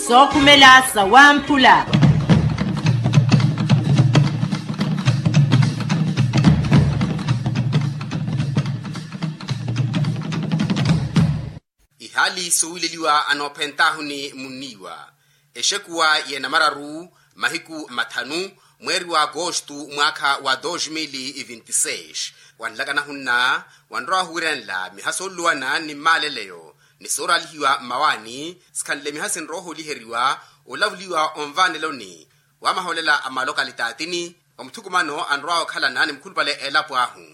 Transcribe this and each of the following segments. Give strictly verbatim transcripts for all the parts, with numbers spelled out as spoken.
Sookhumela sawamphula. Ihaali soowileliwa anoophentaahu ni munniiwa exekuwa y'enamararu mahiku mathanu mweeri wa agosto mwaakha wa dos mil e vinte e seis. Wanlakana hunna wanrowa ohuwiranela miha sooluluwana ni mmaaleleyo ni sooraalihiwa mmawaani sikhanle miha sinrowa ohooliheriwa olavuliwa onvaaneloni wa mahoolela a malokalitaatini wa muthukumano anrowa okhalana ni mukhulupale elapo ahu.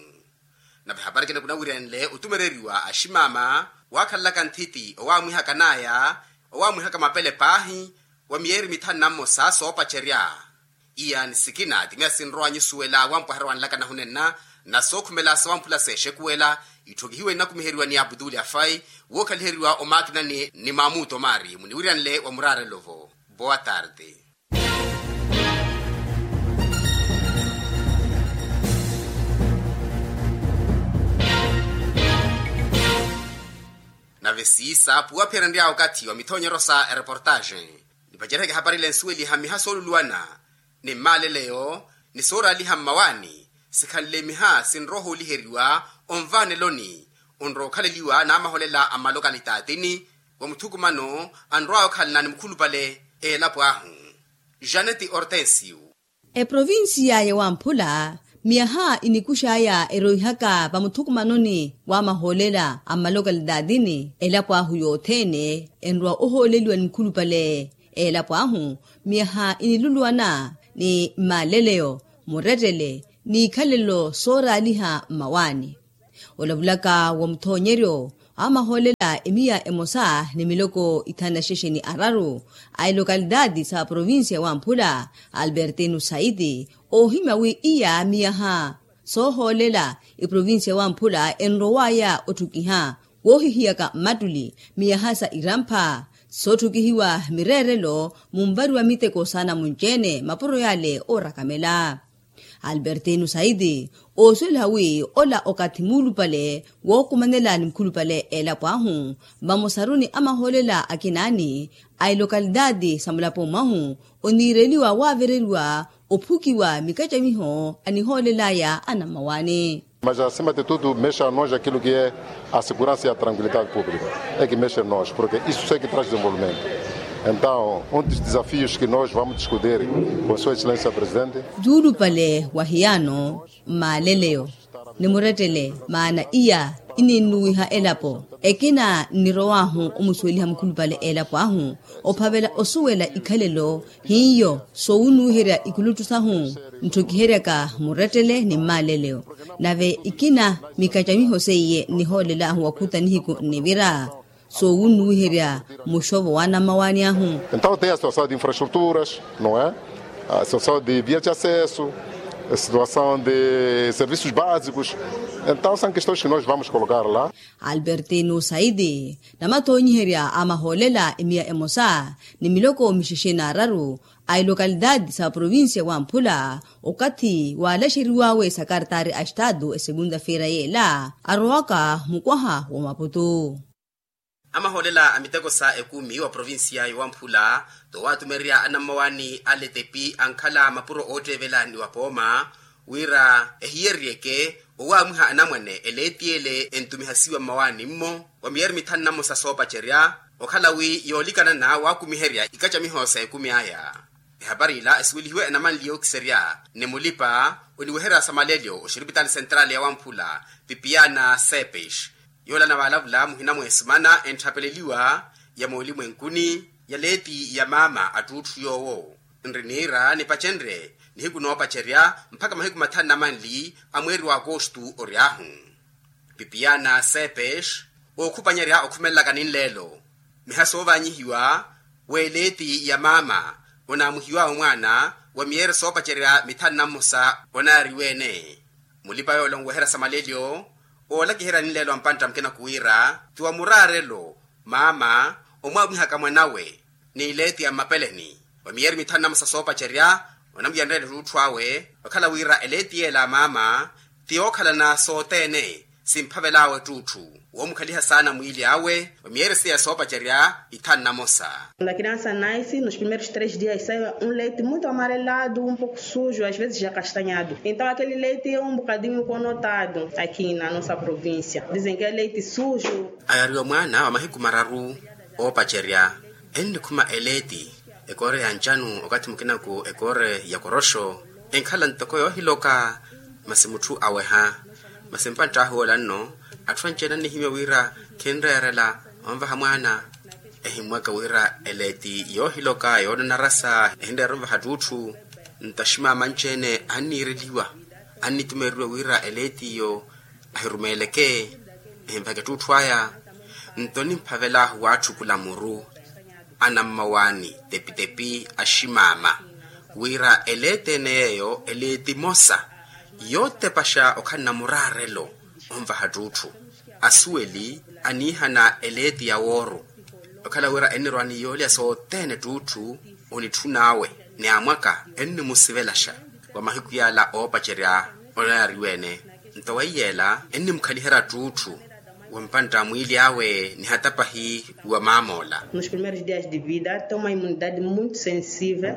Nave hapari kene kunawiryanle otumereriwa aximaama waakhalelaka nthiti owaamwihakanaya owaamwihaka mapele paahi wa miyeeri mithanu na mmosa soopacerya. Iya ni sikina timiya sinrowa nyusuwela wampwahara wanlakana hunenna na sookhumela sawamphula seexekuwela itthokihiwe nnakumiheriwa ni abutuli afai wookhaliheriwa omaakinani ni maamuto maari muniwiryanle wa muraarelo-vo. Boa tarde. Nave siisa puwaphiyerenrya okathi wa mithoonyeryo sa ereportaxe nipaceriheke hapari ile nsuweliha miha sooluluwana ni mmaaleleyo ni sooraaliha mmawaani sikhanle miha sinrowa ohooliheriwa onvaaneloni onrowa okhaleliwa n'amahoolela a mmalokalitaathini wa muthukumano anrowaya okhalana ni mukhulupale elapo ahu. Janeti hortensio. Eprovinsiya ya wamphula miyaha inikuxaya eroihaka vamuthukumanoni wa mahoolela a mmalokalitaathini elapo ahu yothene enrowa ohooleliwa ni mukhulupale elapo ahu miyaha iniluluwana ni mmaleleyo murettele n'ikhalelo sooraaliha mmawaani. Olavulaka wa muthoonyeryo amahoolela emiya emosa ni miloko ithanu na xexe ni araru a elokalitaati sa provinsiya wamphula albertino saiti oohimya wi iya miyaha soohoolela iprovinsiya wamphula enrowaya otthukiha woohihiyaka mmattuli miyaha sa irampha sootthukihiwa mireerelo munvariwa miteko saana munci-ene mapuro yale oorakamela. Albertino saiti oosuweliha wi ola okathi muulupale wookumanela ni mukhulupale elapo ahu vamosaru ni amahoolela akinaani a elokalitaati sa mulapo mwahu oniireliwa waavereriwa ophukiwa mikacamiho anihoolelaya anammawaani. Mas acima de tudo mexe a nós aquilo que é a segurança e a tranquilidade pública é que mexe a nós porque isso é que traz desenvolvimento. Então um dos desafios que nós vamos discutir com sua excelência presidente. Tuulupale wa hiyano mmaaleleyo ni murettele maana iya ininnuwiha elapo ekina nnirowaahu omusuweliha mukhulupale elapo ahu ophavela osuwela ikhalelo hiyo soowunnuwiherya ikuluttu sahu ntthokiheryaka murettele ni mmaaleleyo nave ikina mikacamiho seiye nnihoolelaahu wakhuta nihiku nnivira soowunnuwiherya muxovo wa anammawaani ahu. Então tem a situação de infraestruturas, não é? A situação de vias de acesso, a situação de serviços básicos. Então são questões que nós vamos colocar lá. Albertino saiti namathoonyiherya a mahoolela emiya emosa ni miloko mixexe n'araru a elokalitaati sa provinsiya wamphula okathi waalaxeriwawe sakartaari a estaatu esegunda feira yeela arowaka mukwaha wa maputu. Amahoolela a miteko sa ekumi wa provinsiya yowamphula towatumererya anammawaani a letepi ankhala mapuro ootteevela ni wapooma wira ehiyereryeke owaamwiha anamwane eleeti ele entumihasiwa mmawaani-mmo wa miyeeri mithanu na mmosa soopacerya okhala wi yoolikanana waakumiherya ikacamiho sa ekumi aya. Ehapari ila esuwelihiwe enamanli yookiserya ni mulipa oniweherya samalelyo oxiripitali sentrali ya wamphula pipiana sepes yoolana vaalavula muhina mweesimana entthapeleliwa ya moolimwenkuni ya leeti ya maama attuutthu yoowo nri niira nipacenrye nihiku noopacerya mpakha mahiku mathanu na manli a mweeri wa akostu ory'ahu. Pipiana sepes ookhupanyerya okhumelelaka ninleelo miha soovaanyihiwa w'eleeti ya maama onaamuhiwawe mwaana wa miyeeri soopacerya mithanu na mmosa onaariwe-ene mulipa yoola onweherya samalelyo oolakiherya ninleelo a mpantta mukina kuwiira ti wa muraarelo maama omwaamwihaka mwanawe n'ileeti ya mmapeleni wa miyeeri mithanu na mmosa soopacerya onamwiyanrela ettuutthu awe okhala wira eleeti yeela a maama ti yookhalana sothene simphavel'awe ettuutthu. Woomukhaliha saana mwiili awe wa miyeresi ya soopacerya ithanu namosa. Lakini ansa naisi nos primeiros três dias sai un leite muito amarelado un poco sujo às vezes jakastanhado. Então aquele leite é um bocadinho conotado aqui na nossa província dizem que é leite sujo. Ayariwa mwaana wa mahiku mararu oopacerya ennikhuma eleeti ekoore ya ncanu okathi mukinaku ekoore ya koroxo enkhala ntoko yoohiloka. Masi mutthu aweha masi mpantt'ahu yoola nno atthu anci-ene annihimya wira khinreerela onvaha mwaana. Ehimmwaka wira eleeti yoohiloka yoonanarasa ehinreera onvaha ttuutthu. Nto aximaama anci-ene anniireliwa annitumereriwa wira eleeti iyo ahirumeeleke ehinvaheke ttuutthu aya. Nto onimphavel'ahu waatthukula muru anammawaani tepitepi aximaama wira eleeti ene yeeyo eleeti emosa yootepaxa okhala namuraarelo onvaha ttuutthu. Asuweli aniihana eleeti ya wooru okhala wira ennirwa ni yoolya sothene ttuutthu onitthun'awe ni amwaka ennimusivelaxa wa mahiku yaala oopacerya. Onayariwe-ene nto weiyeela ennimukhaliherya ttuutthu wa mpantta mwiili awe nihata pahi wa maam'ola. Nos primeiros dias de vida tem uma imunidade muito sensível.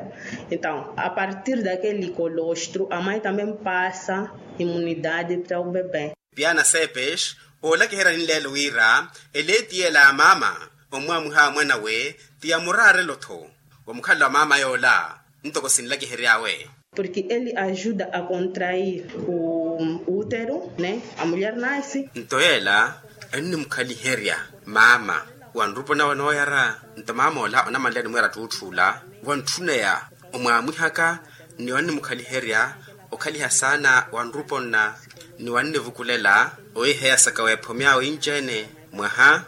Então a partir daquele colostro a mãe também passa imunidade para o bebé. Piana sepes oolakiherya ninleelo wira eleeti yeela ya maama omwaamwiha mwan'awe ti ya muraarelo-tho wa mukhalelo wa maama yoola. Ntoko sinlakihery'awe. Porque ele ajuda a contrair o útero, né, a mulher nasce. Nto yeela ennimukhaliherya maama wa nrupo nawe nooyara. Nto maam'ola onamanle animweera ttuutthu ola wantthuneya omwaamwihaka ni wannimukhaliherya okhaliha saana wa nrupo nna ni wannivukulela owiiheyasaka weephomi awe inci-ene mwaha.